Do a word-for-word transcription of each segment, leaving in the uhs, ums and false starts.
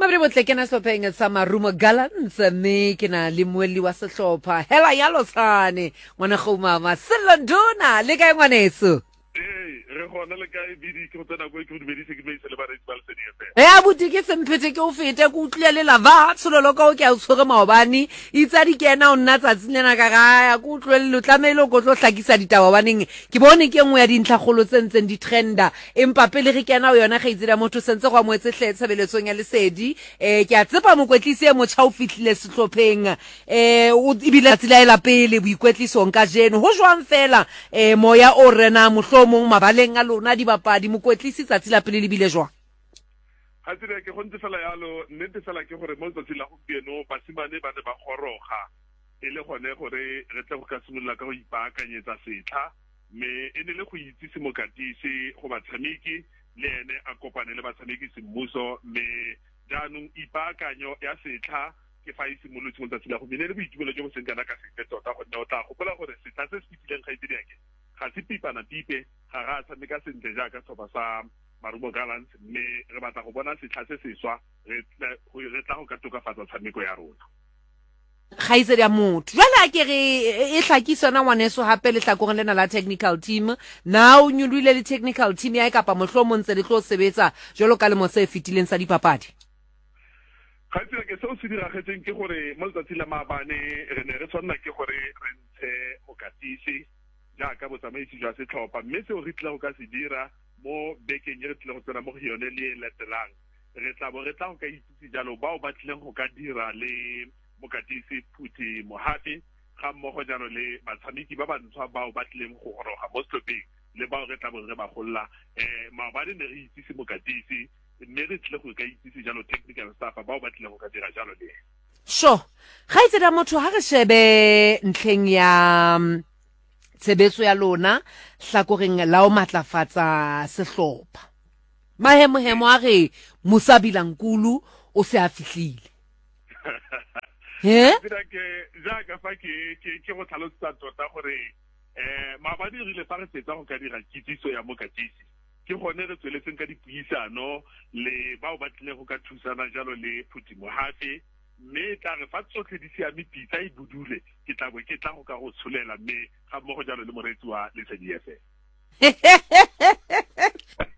Mabedi botle ke na sehlopheng sa Marumo Gallants mme ke na le mmuelli wa sehlopha hela ya lotshane ngwana mama Sello Nduna le kae ngwaneso? Ee, re gona le kae bidi ke go tsena ko ke go dumedise ke dumedise le bareetsi ba Lesedi F M. E abuti ke semphete ke o fete ke utlwile le lava tshololo ka o ke a o tshwere maobane itse a di kena o nna tsatsing lena ka gaya ke utlwelele o tlamehile o ko tlo hlakisa ditaba hobaneng ke bone ke nngwe ya dintlhakgolo tse ntseng di trenda empa pele re kena ho yona kgaitsedi ya motho sentse go amohetse hle tshebeletsong ya Lesedi um ke a tsepa mokwetlisi e motjha o fihlile sehlopheng um o ebile tsatsi la e la pele boikwetlisong kajeno ho jwang fela um moya o renang mohlomong mabaleng a lona dibapadi mokwetlisi tsatsi la pele le bile jwang? Ga tsebe ke go ntse fela yalo nnete fela ke gore mo letsatsing la gompieno basimane ba ne ba goroga e le gone gore re tle go ka simolola ka go ipaakanyetsa setlha mme e ne le go itsise mokatisi go batshameki le ene a kopane le batshameki semmuso mme jaanong ipaakanyo ya setlha ke fa e simolotse mo letsatsing la gompieno e le boitumelo jo bo seng kana ka sepe tota gonne o tla gopola gore setlha se se fetileng kgaitsedi yake ga se pipana pipe ga ga a tshameka sentle jaaka setlhopha sa Marumo Gallants mme re batla go bona setlha se seswa re tla go ka tokafatsa tshameko ya rona. Kgaitsedi ya motho jwale a ke re e hlakise yona ngwaneso hape lehlakoreng lena la technical team na o nyolohile le technical team ya kapa mohlomong ntse le tlo sebetsa jwalo ka lemo se fetileng sa dipapadi? Kgaitsedi ke seo se diragetseng ke gore mo letsatsing la maabane re ne re tshwanela ke gore re ntshe mokatisi jaaka botsamaisi jwa setlhopha mme seo re tlile go ka se dira mo bekeng e re tlile go tsena mo go yone le e latelang re tla bo re tla go ka itsise jalo bao ba tlileng go ka dira le mokatisi Phuthi Mohafe ga mmogo jalo le batshameki ba bantshwa bao ba tlileng go goroga mo setlhopheng le bao re tla bong re ba golola. Um maobane ne re itsise mokatisi mme re tlile go ka itsise jalo technical staff bao ba tlileng go ka dira jalo le ene. Sure. Kgaitsedi ya motho ha re shebe ntlheng ya tshebetso ya lona hlakoreng la ho matlafatsa sehlopha mahemohemo a re Musa Bilankulu o se a fihlile he ke jaaka fa ke ke ke go tlhalosetsa tota gore um maabane re rile fa re fetsa go ka dira kitsiso ya mokatisi ke gone re tsweletseng ka dipuisano le bao ba tlileng go ka thusana jalo le Phuthi Mohafe mme tla re fa tsotlhe di siame pitsa e budule ke tla bo ke tla go ka go tsholela mme ga mmogo jalo le moreetsi wa Lesedi F M.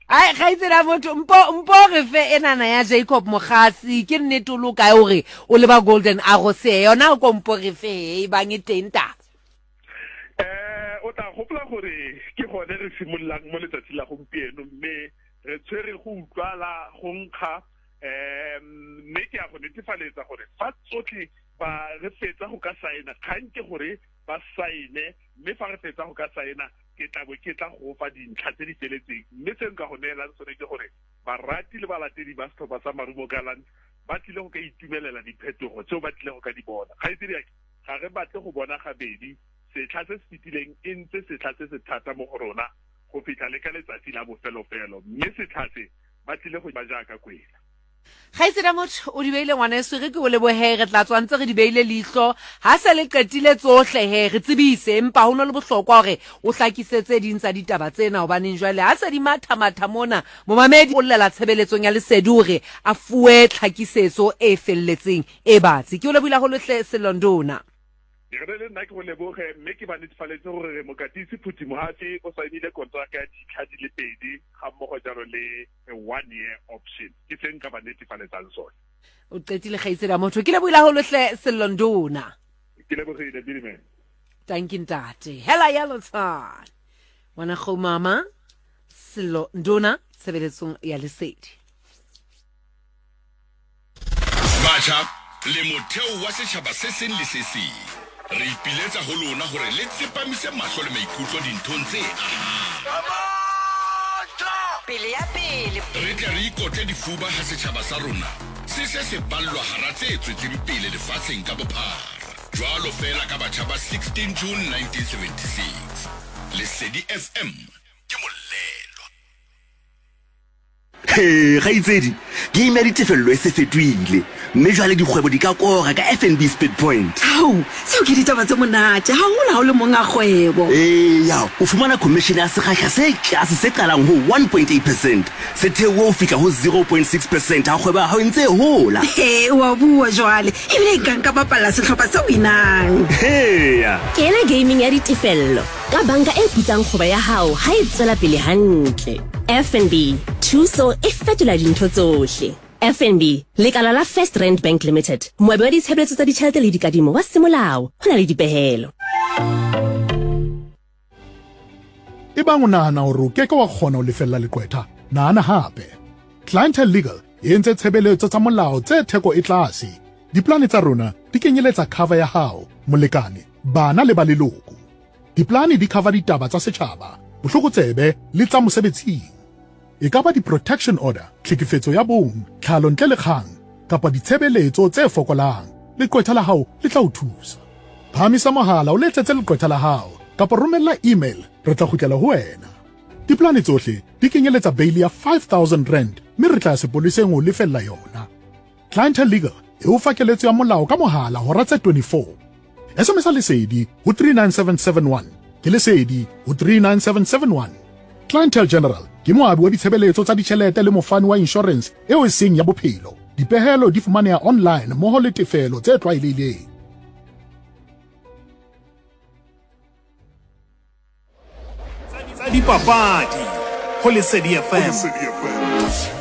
Ai kgaitsedi ya motho mpo mpo re fe enana ya Jacob Mogasi ke nnete o lo kae hore o leba Golden Arrow se yona ko mpo re fe e bang e teng taba? Eh o tla gopola gore ke gone re simololang mo letsatsing la gompieno mme re tshwere go utlwala go nkga um mme ke a go netefaletsa gore fa tsotlhe ba re fetsa go ka saena kgang ke gore ba saene mme fa re fetsa go ka saena ke tla bo ke tla go fa dintlha tse di feletseng mme se nka go neelang sone ke gore barati le balatedi ba setlhopha sa Marumo Gallants ba tlile go ka itumelela diphetogo tseo ba tlile go ka di bona. Kgaitsedi yake ga re batle go bona gabedi setlha se se fetileng e ntse setlha se se thata mo go rona go fitlha le ka letsatsi la bofelofelo mme setlha se ba tlile go ba jaaka kwela. Kgaitsedi ya motho o di beile ngwaneso re ke o lebohe re tla tswa ntse re di beile leihlo ha se le qetile tsohle he re tsebise empa ho no le bohlokwa hore o hlakise tse ding tsa ditaba tsena hobaneng jwale ha se di matha-matha mona momamedi o llela tshebeletsong ya Lesedi hore a fuwe tlhakisetso e felletseng e batsi. Ke o lebohile haholo hle Sello Nduna. Re le nna ke go leboge mme ke ba netefaletse gore mokatisi Phuthi Mohafe o saenile kontraka ya ditlha di le pedi ga mmogo jalo le one year option ke se nka ba netefaletsang sone. O qetile kgaitsedi ya motho ke lebohile haholo hle Sello Nduna. Ke lebogile Bidime. Thank you ntate. Hela ya lotshane ngwana go mama Sello Nduna tshebeletsong ya Lesedi. Batjha le motheo wa setjhaba se seng le se seng re ipiletsa ho lona hore le tsepamise mahlo le maikutlo dinthong tse ahang. Pele ya pele re tle re ikotle difuba ha setjhaba sa rona se se se ballwa hara tse tswetseng pele lefatsheng ka bophara jwalo fela ka batjha ba sixteen June nineteen seventy-six. Lesedi F M ke molelwa. He, kgaitsedi, game ya ditefello e se fetohile, mme jwale dikgwebo di ka kora ka F N B Speed Point. Ao, seo ke ditaba tse monate, haholo ha o le monga kgwebo. Eya, o fumana commission ya sekgahla se tlase se qalang ho one point eight percent, se theohe ho fihla ho zero point six percent ha kgwebo ya hao e ntse e hola. He, wa bua jwale, ebile nka nka bapalla sehlopha se winang. Heya. Kena gaming ya ditefello ka banka e putsang kgwebo ya hao ha e tswela pele hantle. F N B, thuso e fetola dintho tsohle. F N B, lekala la First Rand Bank Limited, moabi wa ditshebeletso tsa ditjhelete le dikadimo wa semolao, ho na le dipehelo. Ebang o nahana hore o keke wa kgona ho lefella leqwetha, nahana hape. Clientele Legal e entse tshebeletso tsa molao tse theko e tlase. Diplane tsa rona di kenyeletsa cover ya hao, molekane, bana le ba leloko. Diplane di cover ditaba tsa setjhaba, bohlokotsebe le tsa mosebetsing. E ka ba di-protection order, tlhekefetso ya bong, tlhalo ntle le kgang, kapa ditshebeletso tse fokolang. Leqwetha la hao le tla o thusa. Phahamisa mohala o letsetse leqwetha la hao, kapa romella email, re tla kgutlela ho wena. Diplane tsohle di kenyeletsa bail ya five thousand rand, mme re tla ya sepoleseng ho lefella yona. Clientele Legal e o fa keletso ya molao ka mohala hora tse twenty-four. S M S Lesedi ho three nine seven seven one. Ke Lesedi ho three nine seven seven one. Clientele General ke moabi wa ditshebeletso tsa ditjhelete le mofani wa insurance eo e seng ya bophelo. Dipehelo di fumaneha online mmoho le tefelo tse tlwaelehileng. Tsa dipapadi ho Lesedi F M.